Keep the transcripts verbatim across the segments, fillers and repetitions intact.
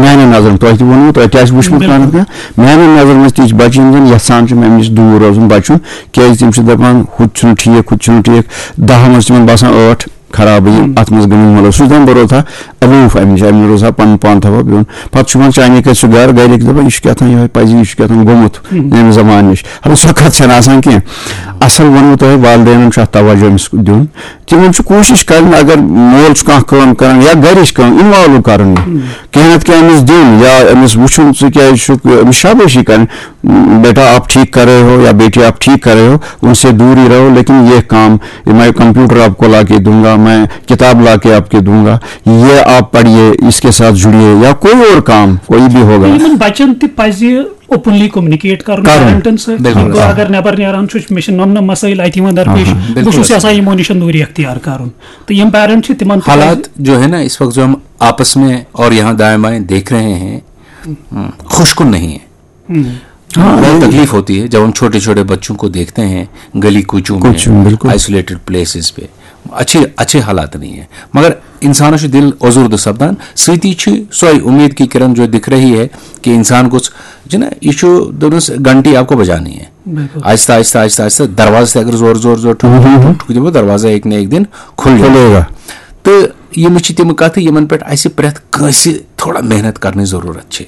میانٮ۪ن نظرن، تۄہہِ تہِ ووٚنوُ، تۄہہِ تہِ آسہِ وٕچھمُت بِلکُل۔ پانہٕ کینٛہہ۔ میانٮ۪ن نظرن منٛز تہِ چھِ بَچہِ یِم زَن یَژھان چھِ اَمہِ نِش دوٗر روزُن، بَچُن، کیازِ تِم چھِ دَپان، ہُہ تہِ چھُنہٕ ٹھیٖک، ہُہ تہِ چھُنہٕ ٹھیٖک۔ دَہَن منٛز تِمن باسان ٲٹھ خرابٕے، ہُم۔ اَتھ منٛز گٔمٕتۍ مُلوث۔ سُہ چھُ دَپان، بہٕ روزٕ ہا الوٗف اَمہِ نِش، اَمہِ نِش روزٕ ہا پَنُن پان تھاوہا بِہُن۔ پَتہٕ چھُ یِوان چانہِ کَتھِ سُہ گَرٕ، گَرِکۍ دَپان، یہِ چھُ کیٛاہ تام یِہوٚے پَزی، یہِ چھُ کیٛاہ تام گوٚمُت ہُم۔ ییٚمہِ زمانہٕ نِش۔ ہَتہٕ سۄ کَتھ چھَنہٕ آسان کینٛہہ۔ اَصٕل ووٚنوُ تۄہہِ، والدینَن چھُ اَتھ توجہ أمِس دیُن۔ تِمن چھُ کوٗشِش کرٕنۍ، اگر مول چھُ کانٛہہ کٲم کران یا گرِچ کٲم، انوالو کرُن یہِ۔ کینٛہہ نتہٕ کینٛہہ أمِس دیُن یا أمِس وٕچھُن، ژٕ کیازِ چھُکھ، أمِس شابٲشی کرٕنۍ، بیٹا آپ ٹھیک کر رہے ہو یا بیٹی آپ ٹھیک کر رہے ہو، ان سے دور ہی رہو، لیکن یہ کام، یہ میں کمپیوٹر آپ کو لا کے دوں گا، میں کتاب لا کے آپ کے دوں گا، یہ آپ پڑھیے، اس کے ساتھ جڑیے، یا کوئی اور کام، کوئی بھی ہوگا۔ یِمن بچن تہِ پزِ اوپنلی کومنیکیٹ کرُن کرُن۔ پیرنٹن سۭتۍ۔ بِلکُل۔ اگر نٮ۪بر نیران چھُ، مےٚ چھِ نۄم نۄم مسٲیِل اَتہِ یِوان درپیش۔ آہا۔ بِلکُل۔ بہٕ چھُس یژھان یِمو نِش دوٗری اختیار کرُن۔ تہٕ یِم پیرنٹ چھِ، تِمن تہِ پزِ۔ حالات جو ہے نا، اس وقت جو ہم آپس میں اور یہاں دائیں بائیں دیکھ رہے ہیں، ہم، خوش کن نہیں ہے۔ ہم۔ ہاں، بہت یہ تکلیف ہوتی ہے جب ہم چھوٹے چھوٹے بچوں کو دیکھتے ہیں گلی کوچوں میں، کوچوں میں، بِلکُل۔ آئسولیٹڈ پلیسز پہ۔ اچھے، اچھے حالات نہیں ہے، مگر انسانس چھُ دِل ازُردٕ سپدان۔ سۭتی چھِ سۄے اُمید کی کرن جو دِکھ رہی ہے کہ انسان گوٚژھ، چھُنہ، یہِ چھُ دوٚپنَس گھنٹی آپ کو بجانی ہے۔ بِلکُل۔ آہستہ، آہستہ، آہستہ، آہستہ، دروازٕ تہِ اگر زور، زور، زور ٹھُک، ٹھُک، ٹھُک، ٹھُک دِمو، دروازہ ایک نہ ایک دن کھُلہِ۔ کھُلے گا۔ تہٕ یِم چھِ تِم کَتھٕ، یِمن پٮ۪ٹھ اَسہِ پرٛٮ۪تھ کٲنٛسہِ تھوڑا محنت کرنٕچ ضروٗرت چھِ۔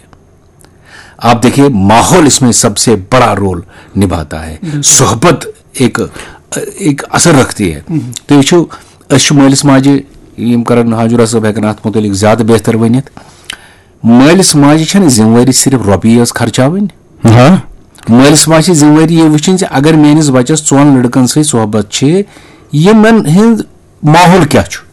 آپ دیکھیے، ماحول اس میں سب سے بڑا رول نبھاتا ہے۔ بِلکُل۔ صحبت ایک، ایک اثر رکھتی ہے۔ ہم۔ تو یہ چھو، أسۍ چھِ مٲلِس ماجہِ، یِم کرن حاجُرا صٲب ہٮ۪کن اتھ مُتعلق زیادٕ بہتر ؤنِتھ۔ مٲلِس ماجہِ چھنہٕ ذمہٕ وٲری صرف رۄپیہِ یٲژ خرچاوٕنۍ۔ ہاں۔ مٲلِس ماجہِ چھِ ذمہٕ وٲری یہِ وٕچھِنۍ زِ اگر میٲنِس بچس ژۄن لڑکن سۭتۍ صحبت چھِ، یِمن ہُنٛد ماحول کیٛاہ چھُ؟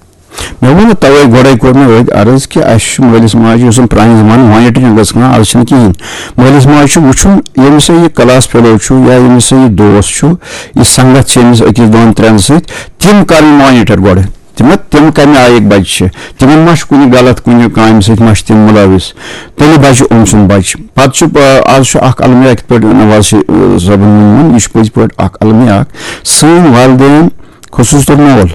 مےٚ ووٚن نہٕ توے گۄڈے، کوٚر مےٚ أتھۍ عرض کہِ اَسہِ چھُ مٲلِس ماجہِ، یُس زَن پرٛانہِ زمانہٕ مانیٹرنگ ٲس کران، از چھِنہٕ کِہیٖنۍ۔ مٲلِس ماجہِ چھُ وٕچھُن، ییٚمِس سۭتۍ یہِ کلاس فیلو چھُ یا ییٚمِس سۭتۍ یہِ دوس چھُ، یہِ سنگت چھِ أمِس أکِس دۄن ترٛٮ۪ن سۭتۍ، تِم کرٕنۍ مانیٹر گۄڈٕ۔ تِم، تِم کَمہِ آیِکۍ بَچہِ چھِ؟ تِمن ما چھُ کُنہِ غلط، کُنہِ کامہِ سۭتۍ ما چھِ تِم مُلوِث؟ تیٚلہِ بَچہِ أمۍ سُنٛد بَچہِ۔ پَتہٕ چھُ، آ، از چھُ اَکھ المیہ، یِتھ پٲٹھۍ نواز شریف، آ، صٲبُن ووٚنمُت، یہِ چھُ پٔزۍ پٲٹھۍ اَکھ المیہ اَکھ۔ سٲنۍ والدین، خصوٗص طور مول،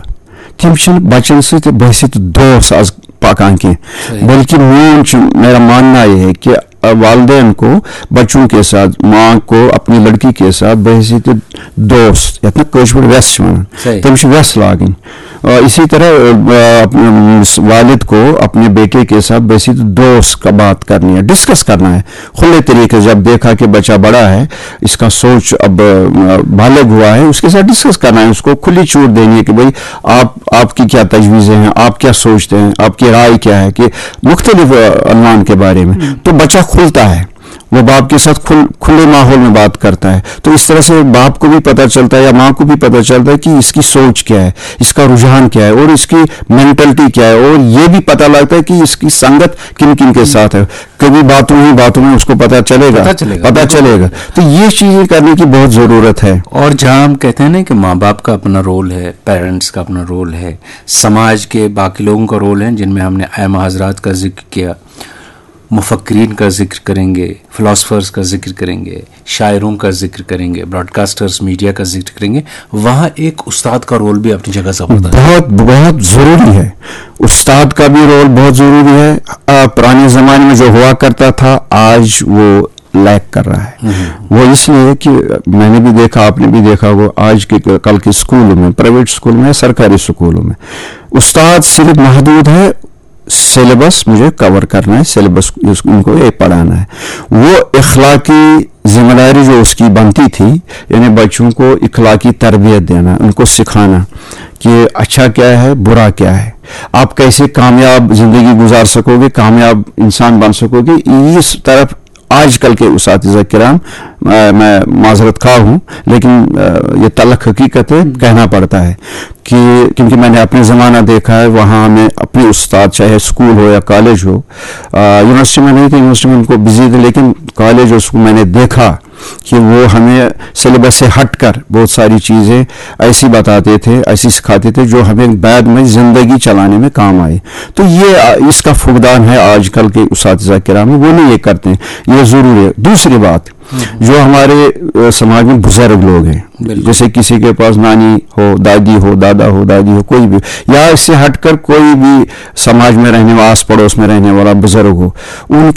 تِم چھِنہٕ بَچَن سۭتۍ بحیثیت دوس از پَکان کینٛہہ، صحیح۔ بلکہِ میون چھُ، میرا ماننا یہ ہے کہ، آ، والدین کو بچوں کے ساتھ، ماں کو اپنی لڑکی کے ساتھ بحیثیت دوست، یَتھ نہٕ کٲشِر پٲٹھۍ وٮ۪س چھِ وَنان، صحیح۔ تٔمِس چھِ وٮ۪س لاگٕنۍ۔ آ، اسی طرح، آ، اپنے، اس والد کو اپنے بیٹے کے ساتھ بحیثیت دوست کا بات کرنی ہے، ڈسکس کرنا ہے کھلے طریقے سے۔ جب دیکھا کہ بچہ بڑا ہے، اس کا سوچ اب، آ، بالغ ہوا ہے، اس کے ساتھ ڈسکس کرنا ہے، اس کو کھلی چھوٹ دینی ہے کہ بھائی، آپ، آپ کی کیا تجویزیں ہیں، آپ کیا سوچتے ہیں، آپ کی رائے کیا ہے کہ مختلف، آ، عنوان کے بارے میں۔ تو بچہ کھلتا ہے، وہ باپ کے ساتھ کھل-، کھلے ماحول میں بات کرتا ہے، تو اس طرح سے باپ کو بھی پتہ چلتا ہے یا ماں کو بھی پتہ چلتا ہے کہ اس کی سوچ کیا ہے، اس کا رجحان کیا ہے اور اس کی مینٹلٹی کیا ہے، اور یہ بھی پتہ لگتا ہے کہ اس کی سنگت کن کن کے ساتھ ہے۔ کبھی باتوں ہی باتوں میں اس کو پتہ چلے گا، پتہ چلے گا، پتہ بالکل۔ چلے گا۔ تو یہ چیزیں کرنے کی بہت ضرورت ہے۔ اور جہاں ہم کہتے ہیں نا کہ ماں باپ کا اپنا رول ہے، پیرنٹس کا اپنا رول ہے، سماج کے باقی لوگوں کا رول ہے، جن میں ہم نے ائمہ حضرات کا ذکر کیا، مفکرین کا ذکر کریں گے، فلاسفرز کا ذکر کریں گے، شاعروں کا ذکر کریں گے، براڈکاسٹرز، میڈیا کا ذکر کریں گے، وہاں ایک استاد کا رول بھی اپنی جگہ زبردست ہے۔ بہت، بہت ضروری ہے۔ استاد کا بھی رول بہت ضروری ہے۔ آ، پرانے زمانے میں جو ہوا کرتا تھا، آج وہ لیک کر رہا ہے۔ وہ اس لیے کہ میں نے بھی دیکھا، آپ نے بھی دیکھا، وہ آج کے، کل کے اسکولوں میں، پرائیویٹ اسکول میں، سرکاری اسکولوں میں استاد صرف محدود ہے، سلیبس مجھے کور کرنا ہے، سلیبس اس، ان کو یہ پڑھانا ہے۔ وہ اخلاقی ذمہ داری جو اس کی بنتی تھی، یعنی بچوں کو اخلاقی تربیت دینا، ان کو سکھانا کہ اچھا کیا ہے، برا کیا ہے، آپ کیسے کامیاب زندگی گزار سکو گے، کامیاب انسان بن سکو گے، اس طرف آج کل کے اساتذہ کرام، میں، میں معذرت خواہ ہوں، لیکن، آ، یہ تلخ حقیقت ہے، کہنا پڑتا ہے کہ کیونکہ میں نے اپنے زمانہ دیکھا ہے، وہاں ہمیں اپنے استاد، چاہے اسکول ہو یا کالج ہو، آ، یونیورسٹی میں نہیں تھے، یونیورسٹی میں ان کو بزی تھے، لیکن کالج اور اسکول میں نے دیکھا کہ وہ ہمیں سلیبس سے ہٹ کر بہت ساری چیزیں ایسی بتاتے تھے، ایسی سکھاتے تھے جو ہمیں بعد میں زندگی چلانے میں کام آئے۔ تو یہ اس کا فقدان ہے آج کل کے اساتذہ کرام، وہ نہیں یہ کرتے ہیں، یہ ضروری ہے۔ دوسری بات، جو ہمارے سماج میں بزرگ لوگ ہیں، جیسے کسی کے پاس نانی ہو، دادی ہو، دادا ہو، دادی ہو، کوئی بھی، یا اس سے ہٹ کر کوئی بھی سماج میں رہنے والا، آس پڑوس میں رہنے والا بزرگ ہو، ان